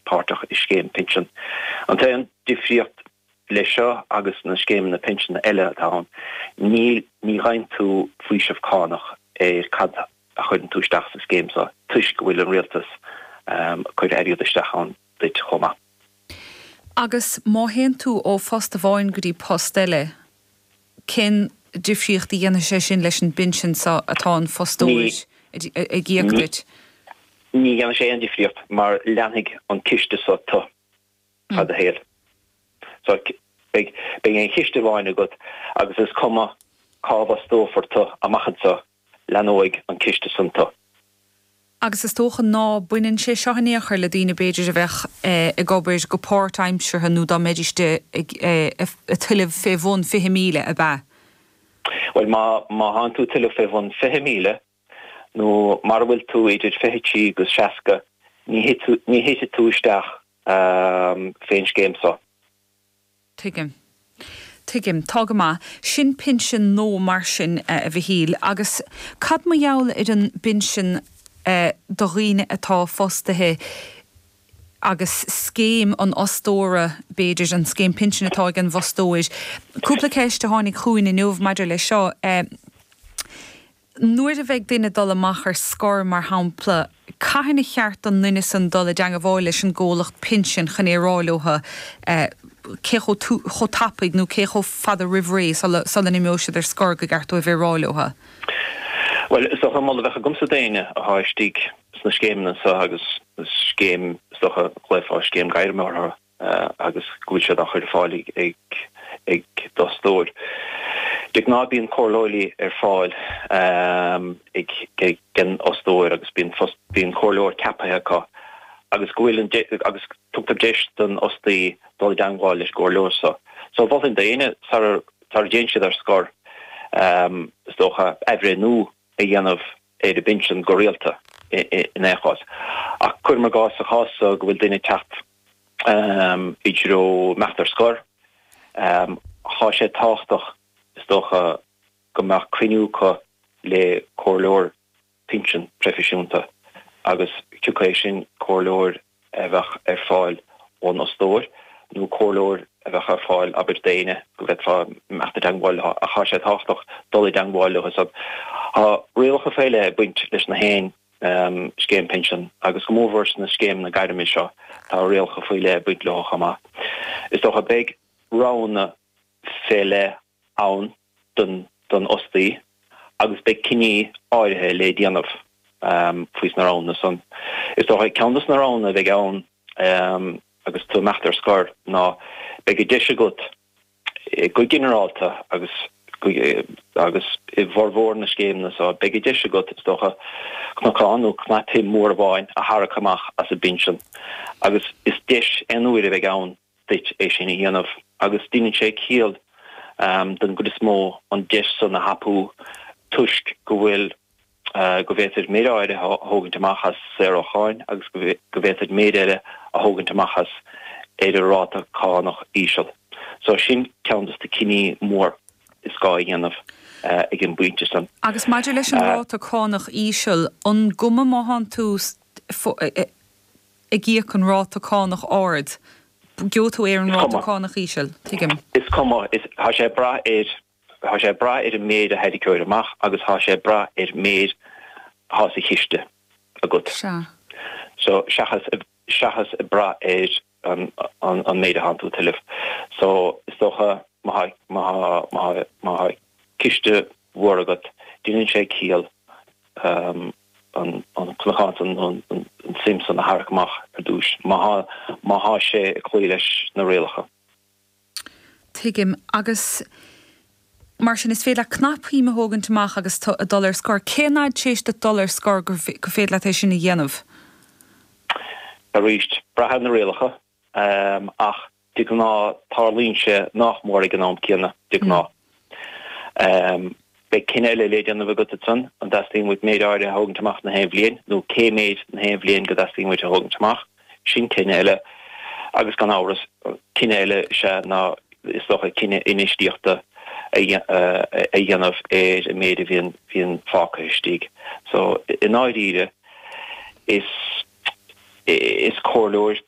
páirteach i scéim pinsean. An t-aon difríocht leis seo agus na scéimeanna pinsean eile atá ann, níl, ní gheibheann tú faoiseamh cánach ar cad a chuireann tú isteach sa scéim seo toisc go bhfuil an rialtas ag cur airgead isteach ann duit chomh maith. Agus má théann tú ó phost amháin go dtí post eile, cén difríocht a dhéanfaidh sé sin leis an bpinsean seo atá an fostóir ag íoc duit? Ní dhéanfaidh sé aon difríocht mar leanfaidh an ciste seo tu fad do shaoil. So beidh aon chiste amháin agat agus is cuma cá bhfostófar tu amach anseo, leanóidh an ciste san tu. Agus is dócha ná baineann sé seo in aon chor le daoine b'fhéidir a bheadh ag obair go páirtaimseartha nó dá mbeidís ag tuilleamh fé bhun 20,000, ab ea? Bhuel, má má thánn tú ag tuilleamh fé bhun 20,000 nó mara bhfuil tú idir 23 agus 60, ní ní thitfidh tú isteach fén scéim so. Tuigim. Tuigim. Tá go maith. Sin pinsean nua mar sin, a Mhichíl. Agus cad mar gheall ar an bpinsean do dhaoine atá fostaithe agus scéim an fhostóra, b'fhéidir, an scéim pinsin atá ag an bhfostóir? Cúpla ceist a tháinig chugainn inniu maidir leis seo. Nuair a bheidh duine ag dul amach ar scor, mar shampla, cathain a cheart don nduine san dul i dteangabháil leis an gcomhlacht pinsin chun é a rá leotha cé chomh chomh tapaidh nó cé chomh fada roimh ré sula sula n-imeoidh siad ar scor go gceart dóibh é a rá leotha? Bhuel, is dócha an moladh a bheadh agamsa d'éinne athá istigh sna scéimeanna seo agus scéim, is dócha, ghlaofá scéim gairme orthu, agus go bhfuil siad á chur ar fáil ag d'fhostóir. De ghnáth bíonn comhairleoirí ar fáil ag an fhostóir agus bíonn bíonn comhairleoir ceaptha acu agus go bhfuil an agus tugtar deis don fhostaí dul i dteangmháil leis an gcomhairleoir seo. So mholfainn d'éinne sara sara dtéann siad ar scor is dócha athbhreithniú a dhéanamh ar a bpinsean go rialta in aon chás. Ach cuirim i gcás sa chás so go bhfuil duine ag teacht i dtreo imeacht ar scor. Tá sé tábhachtach, is dócha, go mbeadh cruinniú acu le comhairleoir pinsean proifisiúnta agus cioca é sin comhairleoir a bheadh ar fáil ón fhostóir nó comhairleoir a bheadh ar fáil, abair, d'éinne go bhféadfá imeacht i dteangmháil leo ach tá sé tábhachtach dul i dteangmháil leo. Tá rialacha faoi leith ag baint leis na haon scéim pinsean agus go mórmhór sna scéimeanna gairme seo tá rialacha faoi leith ag baint leo chomh maith. Is dócha beidh roghanna fé leith ann don don fhostaí agus beidh cinní áirithe le déanamh faoi sna roghanna san. Is dócha ceann dos na roghanna a bheidh ann agus tú ag imeacht ar scor ná beidh an deis agat Go ginearálta, agus agus i bhformhór na scéimeanna seo, beidh an deis agat, is dócha, cnocán nó cnapshuim mhór amháin a tharrac amach as an bpinsean, agus is deis aon uaire a bheidh ann duit é sin a dhéanamh, agus deineann sé ciall don gcuid is mó an deis san a thapú toisc go bhfuil go bhféadfaid méid áirithe a thógaint amach as saor ó cháin agus go bhféadfaid méid eile a thógaint amach as ar an ráta cánach íseal. So sin ceann dos na cinní mór is gá a dhéanamh ag an bpointe san. Agus maidir leis an ráta cánach íseal, an gcuma má thánn tú ag íoc an ráta cánach ard, gheobhaidh tú é ar an ráta cánach íseal? Tuigim. Is cuma. Tá sé ag brath ar Tá sé ag brath ar an méid a tharraiceoir amach agus tá sé ag brath ar méid atá sa chiste agat. Sea. So, seachas, seachas ag brath ar an, an, an méid atánn tú ag tuilleamh. So, is dócha má tá, má tá, má tá, má tá ciste mhór agat, déanann sé ciall an, an cnocán san nó an, an suim san a tharrac amach ar dtúis, má tá, má tá sé ag cloí leis na rialacha. Tuigim. Agus mar sin, is féidir leat cnapshuim a thógaint amach agus tú ag dul ar scor. Cén fhad tar éis duit dul ar scor gur féidir leat é sin a dhéanamh? Arís, brath ar na rialacha, ach de ghnáth tarlaíonn sé nách mór ag an am céanna, de ghnáth. Beidh cinneadh eile le déanamh agat ansan, an dteastaíonn uait méid áirithe a thógaint amach na haon bhliain, nó cé méid na haon bhliain go dteastaíonn uait a thógaint amach. Sin cinneadh eile. Agus gan amhras, cinneadh eile is ea ná, is dócha, cinneadh infheistíochta a dhéanamh ar an méid a bhíonn bhíonn fágtha istigh. So, i ndáiríre, is is comhairleoir.